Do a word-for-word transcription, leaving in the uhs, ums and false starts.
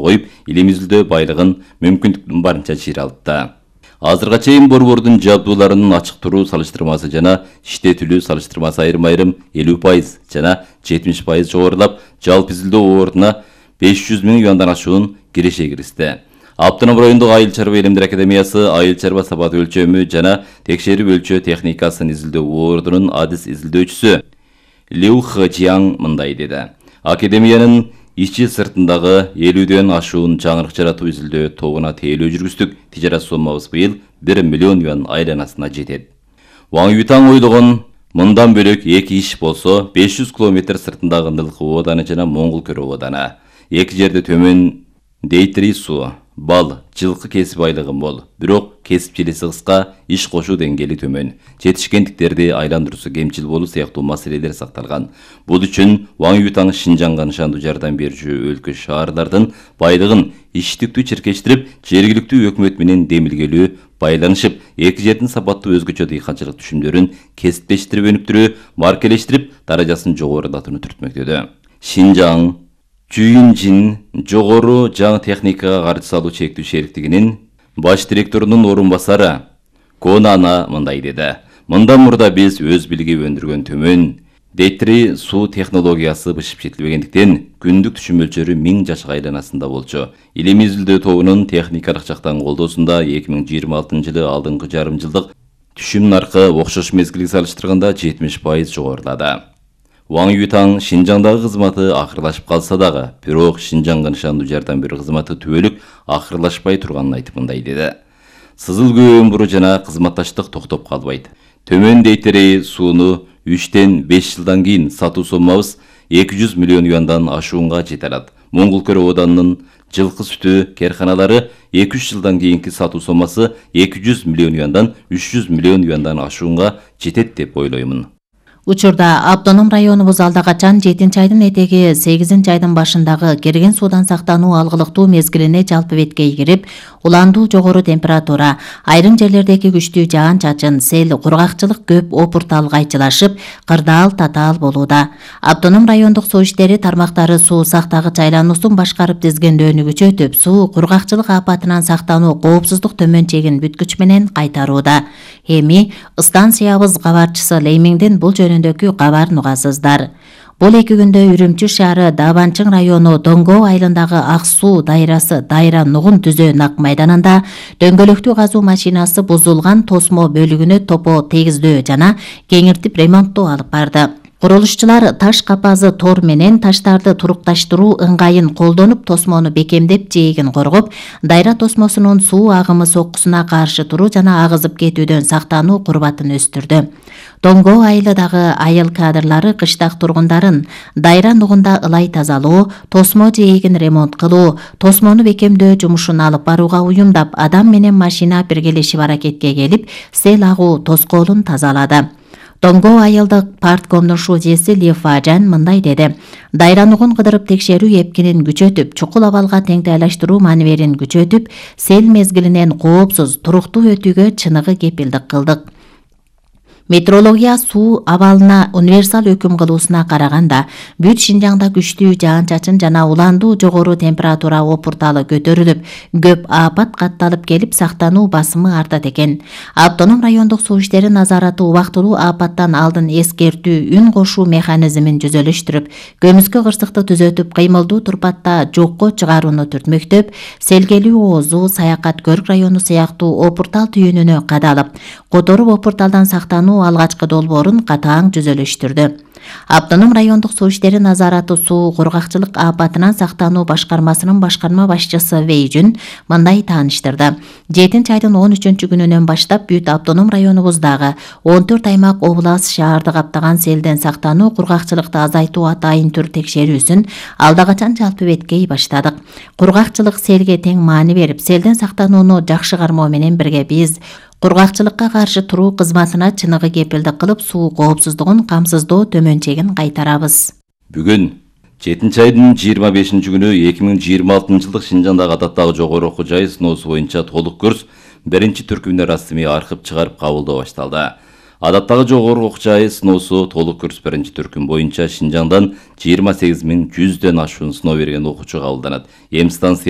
коюп, элибизде байлыгын мүмкүндүктүн барынча чыйралтты. Азырга чейин борбордун жабдууларынын ачык туруу салыштырмасы жана иштетилүү салыштырмасы айрым-айрым элүү пайыз жана жетимиш пайыз жогорулап, жалпы изилдөө ордуна беш жүз миң юандан ашуун киреше киристи. Автоном райондук айыл чарба илимдер академиясы айыл чарба сапат өлчөмү жана текшерип өлчөө техникасын изилдөө ордунун адис изилдөөчүсү Лю Хэжияң мындай деди. Академиянын ичи сыртындагы элүүдөн ашуун жаңырык жаратуу изилдөө тобуна тейлөө жүргүздүк. Тижарат соммабыз быйыл бир миллион юан айланасына жетет. Ваң Юйтаң ойлогон мындан бөлөк эки иш болсо, беш жүз километр сыртындагы Нылкы ооданы жана Моңгул Көрө ооданы. Эки жерде төмөн Дейтри суу, бал, жылкы кесип айлыгы мол, бирок кесипчилиси кыска, иш кошуу деңгээли төмөн. Жетишкендиктерди айландыруусу кемчил болуу сыяктуу маселелер сакталган. Бул үчүн Ваң Юйтаң Шинжаңга нышандуу жардам берүүчү өлкө шаарлардын байлыгын иштиктүү чиркештирип, жергиликтүү өкмөт менен демилгелүү байланышып, эки жердин сапаттуу өзгөчө дыйканчылык түшүмдөрүн кесиптештирип өнүктүрүү, маркелештирип, даражасын жогорулатууну түртмөктөдө. Шинжаң Чүйүнжин жогору жаңы техникага каржы салуу чектүү шериктигинин баш директорунун орун басары Конана мындай деди. Мындан мурда биз өз билиги өндүргөн төмөн Дейтри суу технологиясы бышып жетилбегендиктен күндүк түшүм мөлчөрү миң жашык айланасында болчу. Илим изилдөө тобунун техникалык жактан колдоосунда эки миң жыйырма алтынчы жылы алдыңкы жарым жылдык түшүм наркы окшош мезгилге салыштырганда жетимиш пайыз жогорулады. Ваң Юйтаң Шинжаңдагы кызматы акырлашып калса дагы, бирок Шинжаңга нышандуу жардам берүү кызматы түбөлүк акырлашпай турганын айтып мындай деди. Сызыл көө өмүрү жана кызматташтык токтоп калбайт. Төмөн Дейтри сууну үчтөн беш жылдан кийин сатуу соммабыз эки жүз миллион юандан ашуунга жете алат. Моңгул Көрө оодунун жылкы сүтү керканалары эки үч жылдан кийинки сатуу соммасы эки жүз миллион юандан үч жүз миллион юандан ашуунга жетет деп ойлоймун. Учурда автоном районубуз алда качан жетинчи айдын этеги сегизинчи айдын башындагы керген суудан сактануу алгылыктуу мезгилине жалпы беткей кирип, уландуу жогору температура, айрым жерлердеги күчтүү жаан-чачын, сел, кургакчылык көп опуртал кайчылашып, кырдаал татаал болууда. Автоном райондук суу иштери тармактары суу сактагыч айлануусун башкарып тизгендөөнү күчөтүп, суу кургакчылык апатынан сактануу коопсуздук төмөн чегин бүткүч менен кайтарууда. Эми станциябыз кабарчысы Леймиңден бул жөнүндөгү кабарын угасыздар. Бул эки күндө Үрүмчү шаары Дабанчың району Доңго айылындагы Ак суу дайрасы Дайра Нугун түзөө нак майданында дөңгөлөктүү казуу машинасы бузулган тосмо бөлүгүнө топо тегиздөө жана кеңиртип ремонттоо алып барды. Курулушчулар таш капазы тор менен таштарды турукташтыруу ыңгайын колдонуп, тосмону бекемдеп, жээгин коргоп, дайра тосмосунун суу агымы соккусуна каршы туруу жана агызып кетүүдөн сактануу курбатын өстүрдү. Доңго айылындагы айыл кадрлары кыштак тургундарын Дайра Нугунда ылай тазалоо, тосмо жээгин ремонт кылуу, тосмону бекемдөө жумушун алып барууга уюмдап, адам менен машина биргелешип аракетке келип, сел агуу тоскоолун тазалады. Доңго айылдык парткомдун шуудьеси Ли Фажан мындай деди. Дайра Нугун кыдырып текшерүү эпкинин күчөтүп, чукул абалга теңтайлаштыруу маневерин күчөтүп, сел мезгилинен коопсуз, туруктуу өтүүгө чыныгы кепилдик кылдык. Метеорология суу абалына универсал өкүм кылуусуна караганда, бүт Шинжаңда күчтүү жаан-чачын жана уландуу жогору температура опурталы көтөрүлүп, көп апат катталып келип, сактануу басымы артат экен. Автоном райондук суу иштери назараты убактылуу апаттан алдын эскертүү үн кошуу механизмин жүзөлүштүрүп, көмүскө кырсыкты түзөтүп, кыймылдуу турпатта жокко чыгарууну түртмөктөп, селгелүү оозу, Саякат Көрк району сыяктуу опуртал түйүнүнө кадалып, которуп опурталдан сактануу алгачкы долбоорун катаң жүзөлүштүрдү. Автоном райондук суу иштери назараты суу кургакчылык апатынан сактануу башкармасынын башкарма башчысы Вейжүн мындай тааныштырды. жетинчи айдын он үчүнчү күнүнөн баштап бүт автоном районубуздагы он төрт аймак област шаарды каптаган селден сактануу кургакчылыкты азайтуу атайын түр текшерүүсүн алда качан жалпы беткей баштадык. Кургакчылык селге тең маани берип, селден сактанууну жакшы кармоо менен бирге биз кургакчылыкка каршы туруу кызматына чыныгы кепилдик кылып, суу коопсуздугун камсыздоо төмөнчегин кайтарабыз. Бүгүн жетинчи айдын жыйырма бешинчи күнү эки миң жыйырма алтынчы жылдык Шинжаңдагы адаттагы жогору окуу жай сыноосу боюнча толук курс биринчи түркүмдө расмий архив чыгарып кабылдоо башталды. Адаттагы жогору окуу жай сыноосу толук курс биринчи түркүм боюнча Шинжаңдан жыйырма сегиз миң жүздөн ашуун сыноо берген окуучу кабылданат. Эми станция